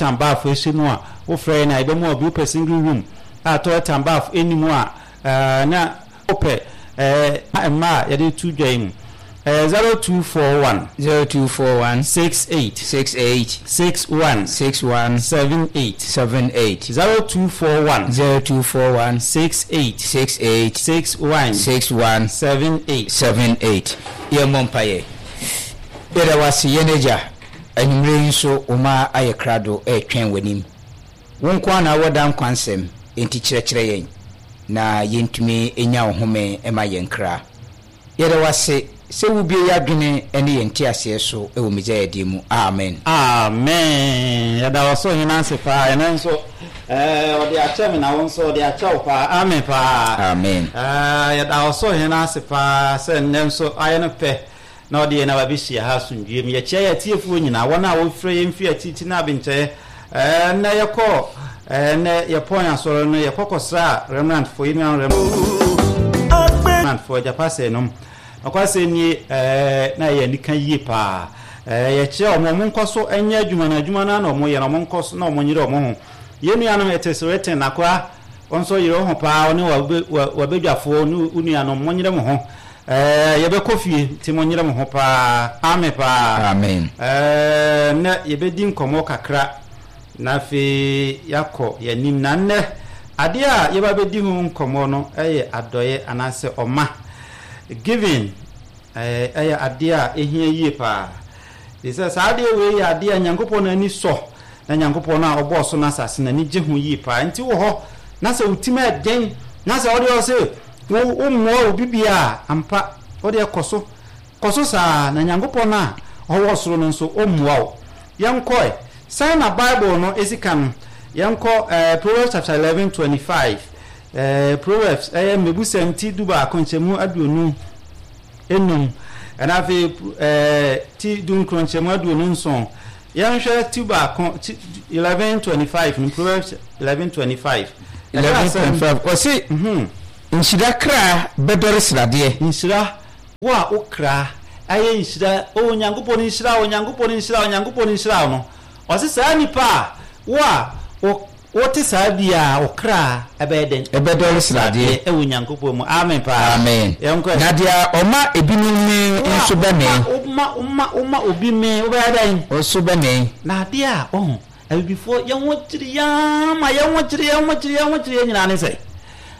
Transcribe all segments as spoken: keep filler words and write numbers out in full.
and bath ɛhyɛ mu a, wofrɛ yɛn a yɛbɛma obi. Wopɛ single room a toilet and bath ɛni mu a, ɛɛ na wopɛ ɛɛ mmaa a yɛde tu dwa yi mu, ɛɛ zero two four one, zero two four one, six eight, six eight, six one, six one, seven eight. seven eight. zero two four one, zero two four one, six eight, six eight, six one, six one, seven eight. seven eight. Yɛmmɔ mpayɛ. Yɛda wase, yɛn Agya. Anwummerɛ yi nso, wo ma ayɛ krado ɛretwɛn w'anim. Wo nko a na wɔda nkwa nsɛm, enti kyerɛkyerɛ yɛn na yɛntumi nya wo home ma yɛn kra. Yɛda wase sɛ wobie yɛ adwene ne yɛn nteaseɛ so wɔ Mesaia din mu, amen. Amen. Yɛda wɔ so hena ase paa. Ɛno nso ɛɛ ɔde akyɛ me na wo nso ɔde akyɛ wo paa. Amen paa. Amen. ɛɛ yɛda wɔ so hena ase paa sɛ nnɛ nso ayɛ no pɛ na ɔde yɛn aba bɛhyia ha asomdwie mu. Yɛkyia yɛ atiefoɔ nyinaa, wɔn a wɔfrɛ yɛn firi akyirikyiri no abenkyɛɛ. ɛɛ nnɛ yɛkɔ ɛɛ nnɛ yɛpɔn asɔre no, yɛkɔ kɔsra remnantfoɔ yi, nua remnantfoɔ agyapa sɛ nom ɔkwasɛ nie. ɛɛ na ɛyɛ anika yie paa. ɛɛ yɛkyerɛ wɔn, wɔn nkɔ so nyɛ adwuma no, adwuma no na wɔn yɛ no, wɔn nkɔ so na wɔn nyere wɔn ho. Yɛn nuanom It Is Written nakoa, wɔn nso yere wɔn ho paa, wɔne wabadwafoɔ ne wo nuanom, mo nyere mo ho. ɛɛ yɛbɛkɔ fie nti mo nyere mo ho paa. Amen paa. Amen. ɛɛ nnɛ yɛbɛdi nkɔmɔ kakra na afei yɛakɔ yɛnim. Na nnɛ adeɛ a yɛba bɛdi ho nkɔmɔ no ɛyɛ adɔeɛ anaasɛ ɔma, giving. ɛɛ ɛyɛ adeɛ a ɛhia yie paa de sɛ saa adeɛ wei yɛ adeɛ a Nyankopɔn n'ani sɔ, na Nyankopɔn no a ɔbɔɔ so no asase n'ani gye ho yie paa. Nti wɔ hɔ na sɛ wotim ɛden na sɛ wode ɔse wo wommoa obi bia a, ampa wode kɔ so kɔ so saa, na Nyankopɔn no a ɔwɔ soro no nso ɔmmoa wo. Yɛnkɔe sɛn na Bible no ɛsi ka no? Yɛnkɔ ɛɛ Proverbs chapter eleven twenty five. ɛɛ Proverbs ɛyɛ Mmebusɛm ti du baako nkyɛmu aduonu enum, ɛna afei ɛɛ ti du nkron nkyɛmu aduonu nson. Yɛnhwɛ ti baako, ti eleven twenty five no, Proverbs eleven twenty five. Eleven twenty five, ɔse, "Nhyira kra bɛdɔre sradeɛ." Nhyira, wo a wo kra ayɛ nhyira o, Onyankopɔn nhyira o, Onyankopɔn nhyira o, Onyankopɔn nhyira o no, ɔse saa nipa a wo a wo wote saa bia, wo kra ɛbɛyɛ dɛn? Ɛbɛdɔre sradeɛ. Ɛwɔ Onyankopɔn mu. Amen paa. Amen. Yɛnkɔ. Na deɛ ɔma ebinom mee nso bɛmee. Woma woma woma obi mee, wobɛyɛ dɛn? Nso bɛmee. Na adeɛ a ɔho abibifoɔ yɛn ho kyerɛ yɛn ma yɛn ho kyerɛ yɛn ho kyerɛ yɛn ho kyerɛ yɛn nyinaa ne sɛ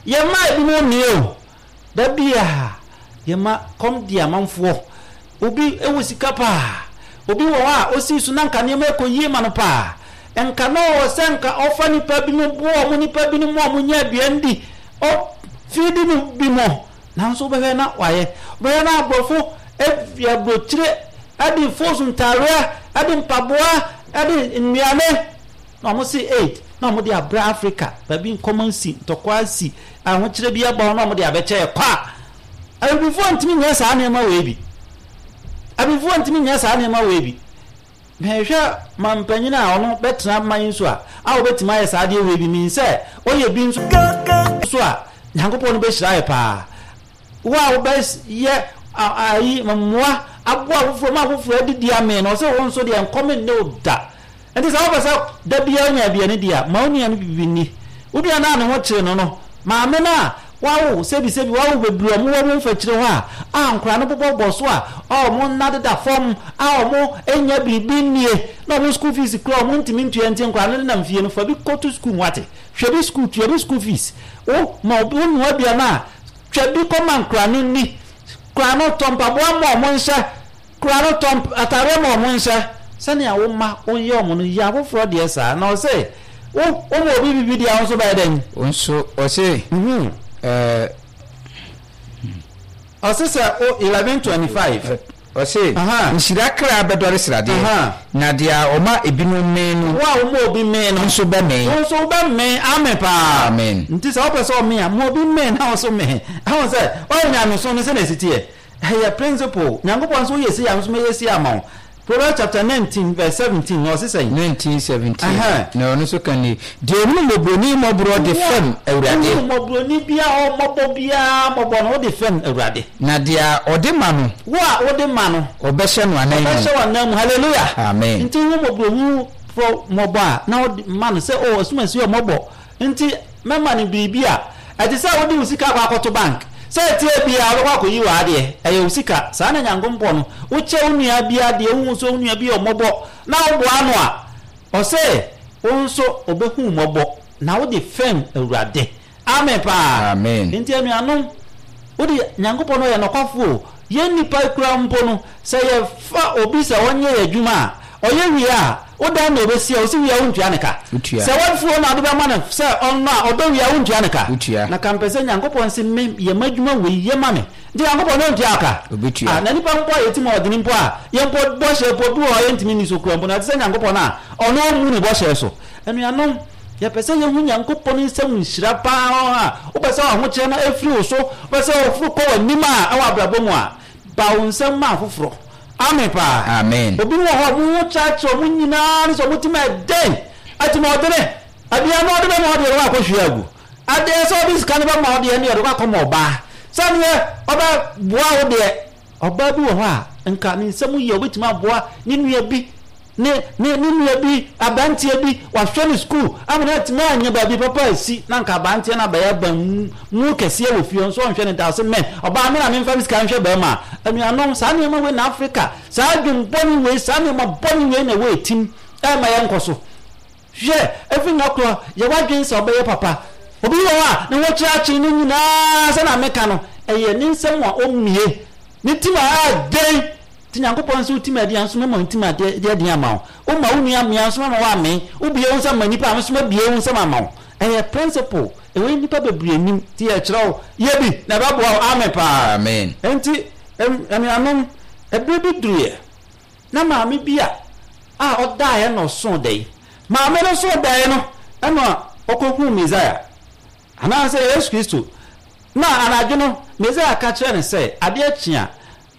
yɛma ebinom mmee o. Da bia yɛma kɔm di amanfoɔ. Obi wɔ sika paa, obi wɔ hɔ a osi so na nka nneɛma ɛkɔ yie ma no paa, nka na ɔwɔ sɛ nka ɔfa nipa bi mu boa ɔmo nipa bi mu a ɔmo nya aduane di, ɔfiidi no bi mu, nanso wobɛhwɛ na wayɛ, wobɛhwɛ na aborɔfo efi aburokyire ɛde fos ntaareɛ, ɛde mpaboa, ɛde nnuane na ɔmo se aid na ɔmo de abrɛ Africa. Baabi nkɔmɔ nsi, ntɔkwa si, ahokyerɛ bi aba hɔ na ɔmo de abɛkyɛ yɛ kɔ a, abibifoɔ ntumi nyɛ saa nneɛma wei bi. Abibifoɔ ntumi nyɛ saa nneɛma wei bi. Mehwɛ mampanyin a ɔno bɛtena man yi so a a wɔbɛtumi ayɛ saa adeɛ wei bi min sɛ ɔyɛ bi nso so a, Nyankopɔn no bɛhyira yɛ paa. Wo a wobɛyɛ ayi mmoa aboa afoforɔ ma afoforɔ adidi amee no, ɔsɛ wo nso deɛ nkɔm nne wo da. Nti sɛ wopɛ sɛ da biara nya aduane di a, ma wo nua no bibi nni. Wo nua no a ne ho kyere no no, maame no a wawo sɛbisɛbi, wawo bebree, ɔmo wɔ mo mfakyire hɔ a a nkora no bobɔbɔ so a a ɔmo nna deda fam a ɔmo nya biribi nnie na ɔmo school fees kura ɔmo ntumi ntua, nti nkora no nenam fie no, fa bi kɔto school mu ate, hwɛ bi school, tua bi school fees. Wo ma wo nua aduane a, twa bi kɔma nkora no nni. Kora no tɔ mpaboa ma ɔmo nhyɛ, kora no tɔ ataareɛ ma ɔmo nhyɛ. Sɛnea wo ma woyɛ ɔmo no, yɛ afoforɔ deɛ saa. Na ɔsɛ wo woma obi bibi deɛ, wo nso bɛyɛ dɛn? Nso ɔse ɛɛ Ɔse sɛ o eleven twenty five. Ɔse, Aha. "Nhyira kra bɛdɔre sradeɛ, Aha. na deɛ ɔma ebinom mee no wo a woma obi mee no nso bɛmee." Wo nso wobɛmee. Amen paa. Amen. Nti sɛ wopɛ sɛ ɔmee a, ma obi mee na wo so mee. Ɛho sɛ ɔyɛ nyamesom no sɛ na ɛsi teɛ, ɛyɛ principle. Nyankopɔn nso woyɛ sei a, nso mɛyɛ sei ama wo. Proverbs chapter nineteen verse seventeen na ɔse sɛn? Nineteen seventeen. Aha. Na ɔno nso ka ni, "Deɛ ɔhunu mmɔborɔni mmɔborɔ de fɛm Awurade." Wohunu mmɔborɔni biara ɔmmɔbɔ biara mmɔbɔ no, wode fɛm Awurade. Na deɛ ɔde ma no, wo a wode ma no, ɔbɛhyɛ no anan mu. Ɔbɛhyɛ w'anan mu. Hallelujah. Amen. Nti wo mmɔborɔhu foforɔ mmɔbɔ a na wode ma no sɛ o asumasi yɛ mmɔbɔ nti mɛma no biribi a ɛte sɛ wode wo sika akɔ akɔto bank sɛ ɛtie bia wobɛkɔ akɔyi wɔ adeɛ ɛyɛ wo sika. Saa na Nyankopɔn no wokyɛ wo nua bi adeɛ, wohu sɛ wo nua bi yɛ mmɔbɔ na woboa no a, ɔsɛ wo nso ɔbɛhu mmɔbɔ na wode fɛm Awurade. Amen paa. Amen. Nti anuanom, wode Nyankopɔn no ɔyɛ nɔkwafoɔ. Yɛn nnipa kura mpo no, sɛ yɛfa obi sɛ ɔnyɛ yɛ adwuma a, ɔyɛ wie a, wodan na ɔbɛsi a, ɔsi wie a wontua ne ka. Wotua. Sɛ wafuo na ɔde bɛma no sɛ ɔno a ɔdɔ wie a wontua ne ka. Wotua. Na ka mpɛ sɛ Nyankopɔn se me yɛ m'adwuma wei yɛ ma me. Nti Nyankopɔn no ɔntua ka. Ɔbɛtua. Ah, na nipa mpo a yɛtim a ɔdene mpo a, yɛn mpo bɔhyɛ mpo bi wɔ hɔ a yɛntumi nni so kura mpo na ɛte sɛ Nyankopɔn a ɔno ɔmmu ne bɔhyɛ so. Anuanom, yɛpɛ sɛ yɛhu Nyankopɔn nsɛm nhyira paa a wopɛ sɛ ahokyerɛ no afiri wo so, wopɛ sɛ ɔforo kɔ w'anim a ɛwɔ abrabɔ mu a, ba wo nsɛm ma afoforɔ. Amen paa. Amen. Obi wɔ hɔ mo ho kyerɛkyerɛ ɔmo nyinaa ne sɛ ɔmo tim ɛdɛn atim ɔdene aduane ɔde bɛma ɔdeɛ no wakɔhwie agu adeɛ sɛ ɔde sika no bɛma ɔdeɛ no yɛde kɔ akɔma ɔbaa sɛneɛ ɔbɛboa wo deɛ. Ɔbaa bi wɔ hɔ a nka ne nsɛm yɛ ɔbɛtumi aboa ne nua bi ne ne ne nua bi aberanteɛ bi wahwɛ ne sukuu ama no atumi anya baabi papa asi na nka aberanteɛ no abɛyɛ ban mu kɛseɛ wɔ fie nso ɔnhwɛ ne da ɔsɛ mɛ ɔbaa me na memfa me sika nhwɛ bɛrima a. Anuanom, saa nneɛma wei na Africa saa adwen bɔne wei saa nneɛma bɔne wei na ɛwɔ etim ɛma yɛn nkɔ so. Hwɛ efi nga korɔ yɛwɔ adwen sɛ ɔbɛyɛ papa. Obi wɔ hɔ a ne ho kyerɛkyerɛ ne nyinaa sɛ na meka no ɛyɛ ne nsɛm a ɔmmie ne tim a ɛden nti Nyankopɔn nso wotim adeɛ nso mɛma wo tim adeɛ adeɛ ama wo. Woma wo nua mmea nso mɛma wo ame. Wobue wo nsɛm ma nnipa a nso mɛbue wo nsɛm ama wo. Ɛyɛ principle ɛwɔ nnipa bebree nim nti yɛkyerɛ wo yɛ bi na ɛbɛboa wo. Amen paa. Amen. Nti anuanom, ɛberɛ bi duruiɛ na maame bi a a ɔdaeɛ na ɔsoo dɛn. Maame no soo dɛn no ɛna ɔkɔhuu Mesaia anaasɛ Yesu Kristo. Na anadwo no Mesaia ka kyerɛ no sɛ adeɛ kye a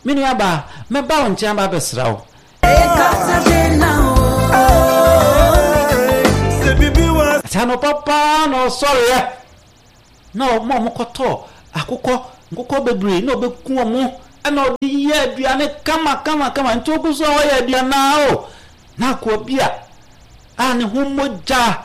me nua baa mɛba wo nkyɛn ba abɛsra wo. Sɛ anɔpa paa na ɔsɔreɛ na ɔmo a ɔmokɔtɔɔ akokɔ nkokɔ bebree na ɔbɛku ɔmo ɛna ɔde yɛ aduane kama kama kama nti ogu so a ɔyɛ aduane a o na akoa bi a a ne ho mogya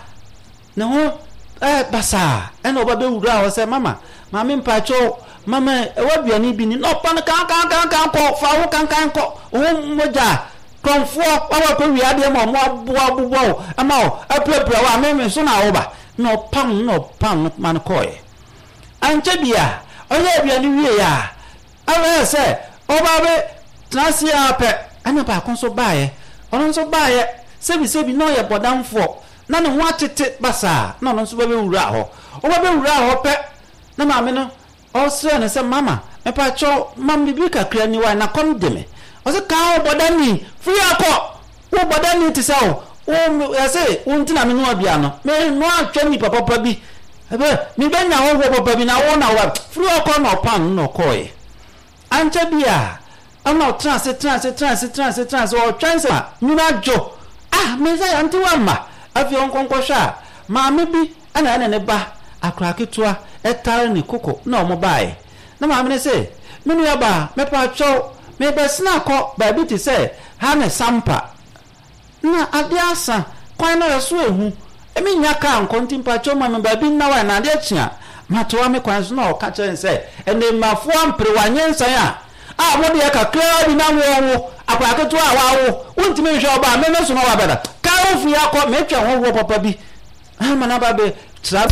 ne ho ɛɛ basaa ɛna ɔba bɛwura hɔ sɛ mama maame mpakyɛw mama ɛwɔ aduane bi ni na ɔpa no kankankankan kɔ fa wo kankan kɔ wo mogya kɔnfoɔ wawa kɔ wia adeɛ ma ɔmo aboa abobɔ wo ɛma wo apirapira wo a meme so na woba na ɔpam na ɔpam no ma no kɔɔɛ. Ankyɛ bia ɔyɛ aduane wie a ɛwɔ sɛ ɔba bɛ tena ase a pɛ ɛna baako nso baeɛ ɔno nso baeɛ sɛbisɛbi na ɔyɛ bɔdamfoɔ na ne ho atete basaa na ɔno nso bɛbɛwura hɔ. Ɔbɛbɛwura hɔ pɛ na maame no ɔsrɛ no sɛ mama mepakyɛw ma me biribi kakra ni wa na kɔm de me. Ɔsɛ kaa wo bɔdani firi akɔ wo bɔdani te sɛ wo wo yɛsɛ wo ntina me noa bia no me noa atwa nipa papa bi ɛbɛ mebɛnya hɔhoɔ papa bi na wo na wo firi ɔkɔ na ɔpam na ɔkɔɔɛ. Ankyɛ bi a ɛna ɔtena ase tena ase tena ase tena ase tena ase ɔtwɛn sɛ nwunu adwo ah Mesaia nte wa mma afei ɔnkɔnkɔhwɛ a maame bi ɛna ɛne ne ba akora ketewa ɛtare ne koko na ɔmo baeɛ. Na maame no sɛ me nua ba mepaakyɛw mebɛsena akɔ baabi te sɛ ha ne Sampa na adeɛ asa kwan no ɛso ehu emi nya kaa nkɔ nti mpaakyɛw ma me baabi nna wa na adeɛ kye a matoa me kwan so. Na ɔka kyerɛ ne sɛ ɛnɛmafoɔ ampere wanyɛ nsan a a mo deɛ kakraa bi na wɔwo akora ketewa a wawo wontumi nhwɛ ɔba a meme so na wabɛda kaa wo firi akɔ metwa hɔhoɔ papa bi ama na ba bɛ tra.